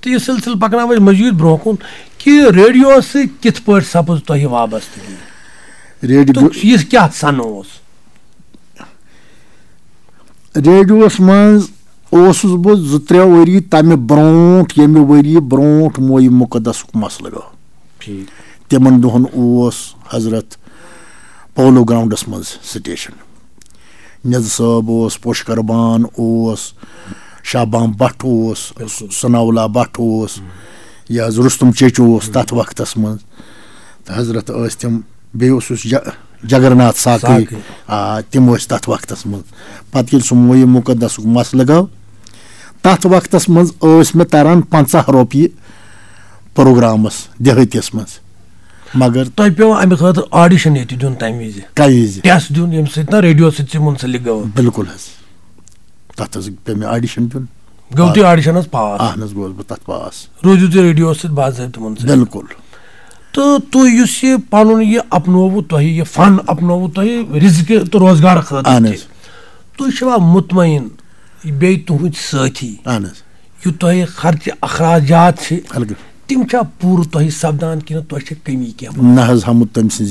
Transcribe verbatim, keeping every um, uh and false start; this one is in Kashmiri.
تہٕ یہِ سلسلہٕ پکناوو أسۍ مزید برونٛہہ کُن کہِ ریڈیوس سۭتۍ کِتھ پٲٹھۍ سپٕز تۄہہِ وابستگی؟ ریڈیو تہٕ یہِ کیٛاہ سن اوس؟ ریڈیوس منٛز اوسُس بہٕ زٕ ترٛےٚ ؤری تمہِ برونٛٹھ، ییٚمہِ ؤری برونٛٹھ مویہِ مُقدسُک مسلہٕ گوٚو۔ ٹھیٖک۔ تِمن دۄہن اوس حضرت پولو گراؤنڈس منٛز سٹیشن۔ نِز صٲب اوس، پوشکر بان اوس، شاہ بام بٹ اوس، بِلکُل۔ ثناء اللہ بٹ اوس، یہِ حظ رُستُم چیچو اوس تَتھ وقتس منٛز۔ تہٕ حضرت ٲسۍ تِم، بیٚیہِ اوسُس ج-، جگرناتھ ساقٕے۔ ساقٕے۔ آ، تِم ٲسۍ تَتھ وقتس منٛز۔ پتہٕ ییٚلہِ سُہ مویہِ مُقدسُک مسلہٕ گوٚو، تَتھ وقتس منٛز ٲسۍ مےٚ تران پنٛژاہ رۄپیہِ پروگرامس دیہٲتِس منٛز۔ مگر تۄہہِ پیوٚو اَمہِ خٲطرٕ audition ییٚتہِ دیُن تَمہِ وِزِ؟ کَمہِ وِزِ؟ Test دیُن، ییٚمہِ سۭتۍ نہ ریڈیو سۭتۍ ژےٚ منسلک گوٚو۔ بِلکُل حظ۔ تَتھ حظ پیوٚو مےٚ audition دیُن۔ گوٚو تُہۍ audition حظ pass؟ اَہن حظ، گوس بہٕ تَتھ pass۔ روٗزِو تُہۍ ریڈیوَس سۭتۍ باضٲبطہٕ منسلک۔ بِلکُل۔ تہٕ تُہۍ یُس یہِ پَنُن یہِ اپنووُ تۄہہِ، یہِ فن اپنووُ تۄہہِ رِزقہِ تہٕ روزگار خٲطرٕ اَہن تہِ، حظ۔ تُہۍ چھِوا مطمئن بیٚیہِ تُہٕنٛدۍ سٲتھی، اَہن حظ۔ یہِ تۄہہِ خرچہِ اخراجات چھِ، بِلکُل۔ تِم چھا پوٗرٕ تۄہہِ سپدان کِنہٕ تۄہہِ چھِ کٔمی کینٛہہ؟ نہ حظ، ہمُت تٔمۍ سٕنٛز